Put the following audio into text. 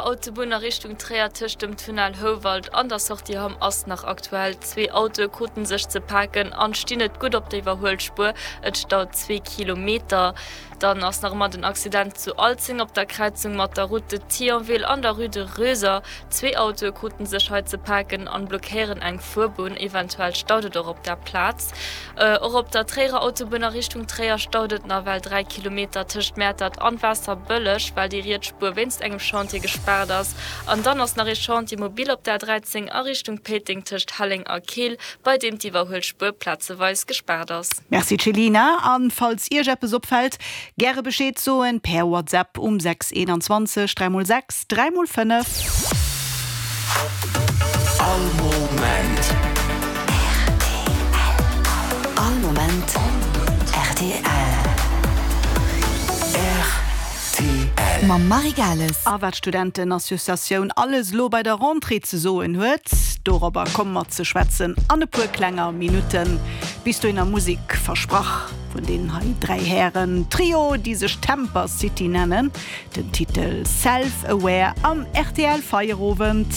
Autobunn a Richtung Tréier tëscht dem Tunnel Houwald an der Sortie Hamm ass nach aktuell. Zwee Autoe kruten sech ze paken an stinn net gutt op der Iwwerhuelspuer. Et staut zwee Kilometer. Dann ass nach ëmmer den Accident zu Alzeng op der Kräizung mat der Route de Thionville an der Rue de Röser. Zwee Autoe kruten sech hei ze paken an blockéieren eng Fuerbunn. Eventuell staut et och op der Plaz. Och op der Tréierer Autobunn a Richtung Tréier staut et nawell 3 Kilometer tëscht Mäertert an Waasserbëlleg, well déi riets Spuer wéinst engem Chantier gespaart ass. An dann ass nach ee Chantier mobil op der A13 a Richtung Péiteng tëscht Helleng a Keel, bei deem d'Iwwerhuelspuer plazeweis gespaart ass. Merci Chelina, an falls Iech eppes opfällt, gäre Bescheed soen per WhatsApp um 6 21 3 x 6. 3 mol 5. All Moment. Rtl. All Moment rtl. Rtl. Mam Marie Gales. A wat d'Studentenassociatioun alles elo bei der Rentrée ze soen huet, dorobber komme mer ze schwätzen an e puer klenger Minutten. Bis dohinner Musek, versprach, vun deenen hei 3 Hären, Trio, déi sech Temper City nennen. Den Titel Self Aware am rtl Feierowend.